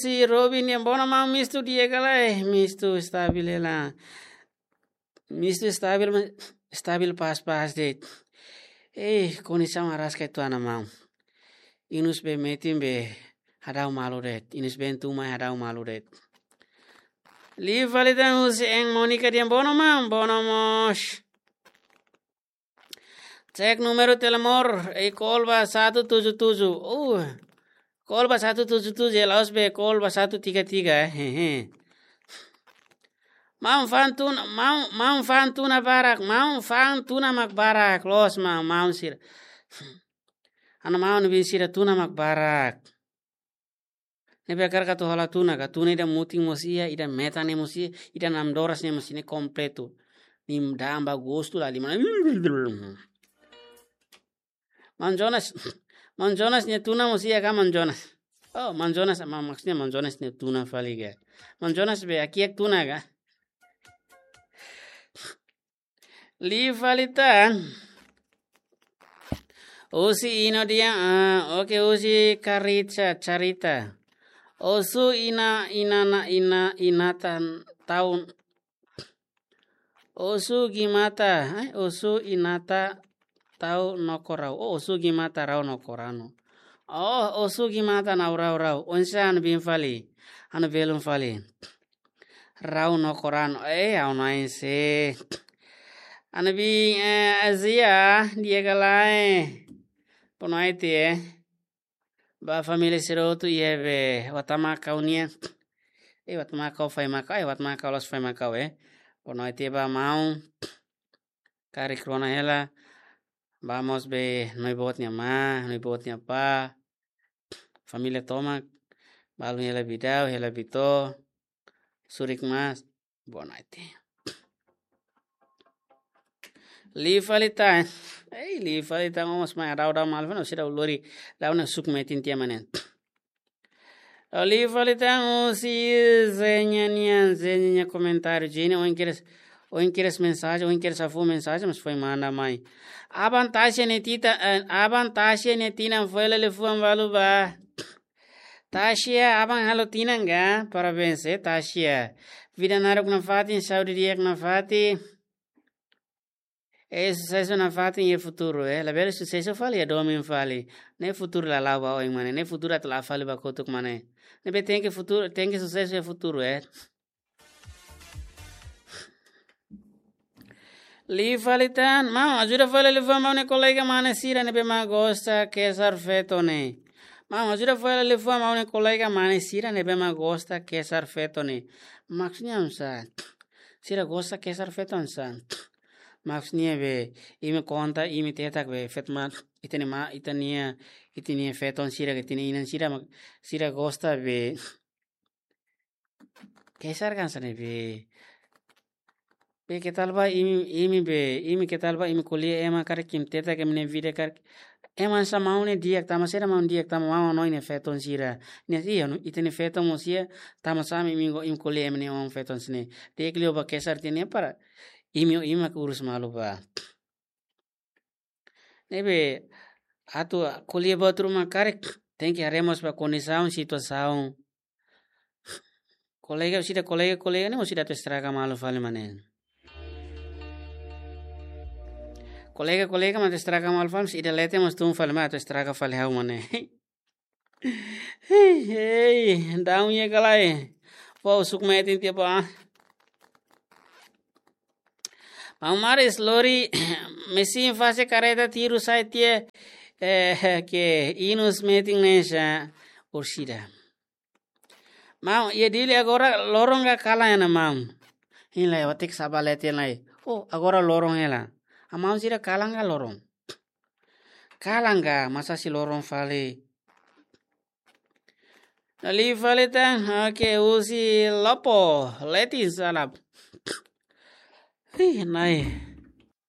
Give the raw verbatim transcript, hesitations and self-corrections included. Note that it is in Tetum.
Husi Robin nian, bono maun, mistu di'ak ka lae? Mistu stabil hela. Mistu stabil, ma-, stabil pas-pas de'it. Eh, kondisaun araska uitoan ona maun. Inus be metin be hadau malu de'it. Inus be tun mai hadau malu de'it. Liu fali tan husi Eng Monica nian, bono maun, bono mós. Cek númeru telemóvel, eh, call ba satu tujuh tujuh. Uh, call ba satu tujuh tujuh, ya, la'ós be call ba satu tiga tiga, eh, hehe. Maun fa'an tun-, maun, maun fa'an tuna barak, maun fa'an tuna mak barak, loos maun, maun sira. Ha'u-nia maun-bin sira, tuna mak barak. Ne'ebé hakarak atu hola tuna ka, tuna ida mutin mós iha, ida metan ne'e mós iha, ida namdoras ne'e mós iha, ne'e kompletu. Nia da'an ba gostu la lima. Maun Jonas, Maun Jonas nia tuna mós iha ka, Maun Jonas? Oh, Maun Jonas, ma-, maksudnya Maun Jonas nia tuna fali ka. Maun Jonas be hakiak tuna ka. Liu fali tan. Husi Ino nian, ah, oke, husi Karitsa, Carita. Osu ina, ina, na, ina, ina tan taun. Osu gimata, eh, osu inata tau no korau. Oh, osu gimata rau no koranu. Oh, osu gimata nau rau rau. Oinsá ha'u-nia bin fali. Ha'u-nia belun fali. Rau no koranu. Eh, ha'u-nia oin se. Ha'u-nia bin, eh, Azia, di'ak ka lae? Boa noite, eh. Ba família sira hotu iha be Watamakau nian. Eh, Watamakau, Faimakau, eh, Watamakau, Los Faimakau, eh. Boa noite ba maun. Karik rona hela. Ba mós be ha'u-nia boot nia ma, ha'u-nia boot nia apá. Família tomak. Balun hela Bidau, hela Bito. Surik mas. Boa noite. Liu fali tan. Ei, liu fali tan, mas mai hadau, hadau malu fali, sira lori, hadau ne'e suk metin tiha mak ne'e. Liu fali tan, husi Zenya nian, Zenya nia komentáriu. Zenya, ohin kedas, ohin kedas mensajen, ohin kedas ha'u fó mensajen, mas foin manda mai. Aban Tasia nia tinan, eh, aban Tasia nia tinan foin hela liafuan balu ba. Tasia, aban halo tinan ka? Parabéns, eh, Tasia. Vida naruk nafatin, saúde di'ak nafatin. Eh, susesu nafatin iha futuru, eh. Labele susesu fali iha domin fali. Ne'e futuru la la'o ba oin mak ne'e, ne'e futuru atu la'o fali ba kotuk mak ne'e. Ne'ebé tenke futuru, tenke susesu iha futuru, eh. Liu fali tan, maun, ajuda fali liafuan maun nia kolega mane sira ne'ebé mak gosta kesar feto ne'e. Maun, ajuda fali liafuan maun nia kolega mane sira ne'ebé mak gosta kesar feto ne'e. Maksudnya oinsá? Sira gosta kesar feto oinsá? Maksudnya be, imi konta, imi tetak be, feto mak, ita-nia ma, ita-nia, ita-nia feton sira, ita-nia inan sira, mak, sira gosta be, kesar ka hanesan ne'e be. Be ke tal ba imi, imi be, imi ke tal ba imi ko'alia ema karik imi tetak imi-nia vida karik. Ema hanesan maun ne'e di'ak tama, saida maun di'ak tama, maun hanoin nia feton sira. Ne'e iha no, ita-nia feton mós iha, tanbasá mak imi go, imi ko'alia ema nia oan feton sira-ne'e. Di'ak liu ba kesar tiha ne'e para imi, imi mak urus malu ba. Ne'ebé atu ko'alia buat ruma karik, tenke haree mós ba kondisaun, situasaun. Kolega, sira kolega, kolega ne'e mós sira atu estraga malu fali mak ne'e. Kolega, kolega mak atu estraga malu fali, se ida leten mós tun fali mak atu estraga fali ha'u mak ne'e. Hei, hei, daun iha ka lae. Pau suk metin tiha pá. Maun Maris, lori mesin fase kareta tiru sai tiha, eh, ke inus metin ne'e sá, orsida. Maun, iha Dili agora loron ka kalan ona maun? Hila, eu tenho que saber leten lai. Oh, agora loron hela. Ha'u maun sira kalan ka loron? Kalan ka, masa sei loron fali. Liu fali tan, oke, husi Lopo, Letin Salap. Ih, nai.